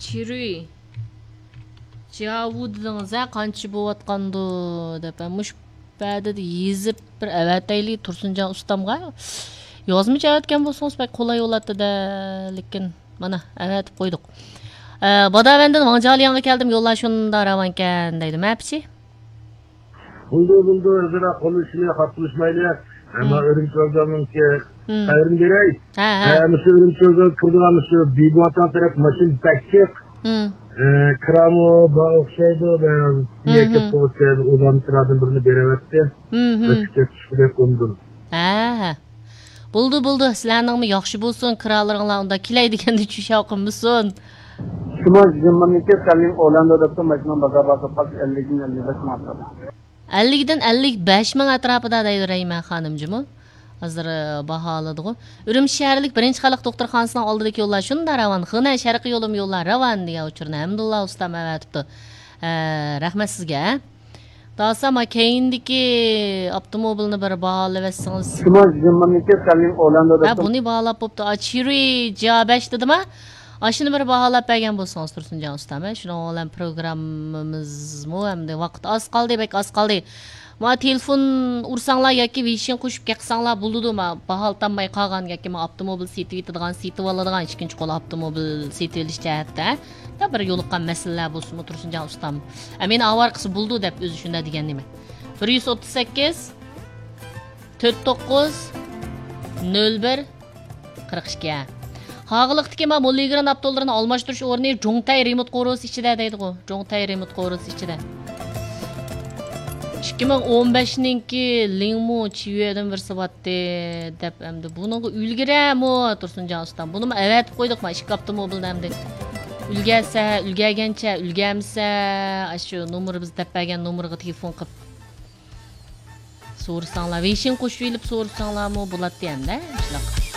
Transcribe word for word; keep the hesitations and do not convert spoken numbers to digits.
چىرۇي جياۋۇ دېدىڭىز ھە، قانچە بوۋاتقاندۇ دەپ. ھە، مۇشۇ پەدىدە يېزىپ بىر ئەۋەتەيلى تۇرسۇنجان ئۇستامغا. يازمىچە ئەۋەتكەن بولسىڭىز بەك قولاي بولاتتى-دە، لېكىن مانا ئەۋەتىپ قويدۇق. ئە، باداۋەندىن ۋاڭجالىياڭغا كەلدىم، يوللار شۇنداق راۋانكەن دەيدۇ. مەپىچى؟ بولدى، بولدى، ئۆزئارا قول ئۇچىنى خاپىلىشمايلى. ئەمما ئۈرۈمچى ۋوززالنىڭكى خەۋىرىنى بېرەي. ھە، ھە. ھە، مۇشۇ ئۈرۈمچى ۋوززال كىرىدىغان مۇشۇ بىبۇۋاتان تەرەپ ماشىنا بەك جىق. ئە، كىرامۇ بار ئوخشايدۇ، بەزى يەككە پوۋېستلاردا ئۇلارنىڭ كىرادىن بىرنى بېرىۋەتتى. مەسچىتكە چۈشكۈدەك ئۇندىن. ھە، ھە. بولدى، بولدى. سىلەرنىڭمۇ ياخشى بولسۇن، كىرالىرىڭلار ئۇنداق كېلەي دېگەندە چۈشەۋ قىلمىسۇن. شۇڭا يىگىرمە ئىككى سەللىڭ ئولاندو دەپتۇ، ماشىنا بازار بارسا پاك ئەللىكتىن ئەللىك بەش ماڭاتتى. ئەللىكتىن ئەللىك بەش مىڭ ئەتراپىدا دەيدۇ رەيمە خانىم جۇمۇ. ھازىر، ئە، باھالىدىغۇ. ئۈرۈمچى شەھەرلىك بىرىنچى خەلق دوختۇرخانىسىنىڭ ئالدىدىكى يوللار شۇنداق راۋان. خېنەن شەرقىي يولىمۇ يوللار راۋان دېگەن ئۇچۇرنى ھەمدۇللا ئۇستام ئەۋەتىپتۇ. ئە، رەھمەت سىزگە. داسا، ما كەينىدىكى ئاپتوموبىلنى بىر باھالىۋەتسىڭىز. شۇڭا يىگىرمە ئىككى سەللىڭ ئولاندو ھە، دەپتۇ. بۇنى باھالاپ بوپتۇ. ئا، چىرۇي جيا بەش دېدىما؟ ئاشۇنى بىر باھالاپ بەرگەن بولسىڭىز، تۇرسۇنجان ئۇستام، ھە؟ شۇنىڭ بىلەن پروگراممىمىزمۇ ئەمدى ۋاقىت ئاز قالدى، بەك ئاز قالدى. ما تېلېفون ئۇرساڭلار ياكى ۋېيشىن قوشۇپ كەتسەڭلار بولىدۇ، ما باھالىتالماي قالغان ياكى ما ئاپتوموبىل سېتىۋېتىدىغان، سېتىۋالىدىغان، ئىككىنچى قول ئاپتوموبىل سېتىۋېلىش جەھەتتە، ھە؟ يا بىر يولۇققان مەسىلىلەر بولسىمۇ، تۇرسۇنجان ئۇستام. ئە، مېنى ئاۋارە قىلسا بولىدۇ دەپ ئۆزى شۇنداق دېگەن نېمە. بىر يۈز ئوتتۇز سەككىز، تۆت توققۇز، نۆل بىر، قىرىق ئىككى، ھە. قاغىلىقتىكى ما موللىگرېن ئاپتولىرىنى ئالماشتۇرۇش ئورنى جۇڭتەي رېمونت قورۇسى ئىچىدە دەيدىغۇ. جۇڭتەي رېمونت قورۇسى ئىچىدە. ئىككى مىڭ ئون بەشنىڭكى لىڭمۇ چىۋيېدىن بىرسى باتتى دەپ ئەمدى بۇنىڭغا ئۈلگۈرەمۇ تۇرسۇنجان ئۇستام. بۇنىمۇ ئەۋەتىپ قويدۇق ما ئىككى ئاپتوموبىلنى ئەمدى. ئۈلگەرسە، ئۈلگەرگەنچە، ئۈلگەرمىسە، ئاشۇ نومۇر بىز دەپ بەرگەن نومۇرغا تېلېفون قىلىپ سورىساڭلار، ۋېيشىن قوشۇۋېلىپ سورىساڭلارمۇ بولاتتى ئەمدى، شۇنداق.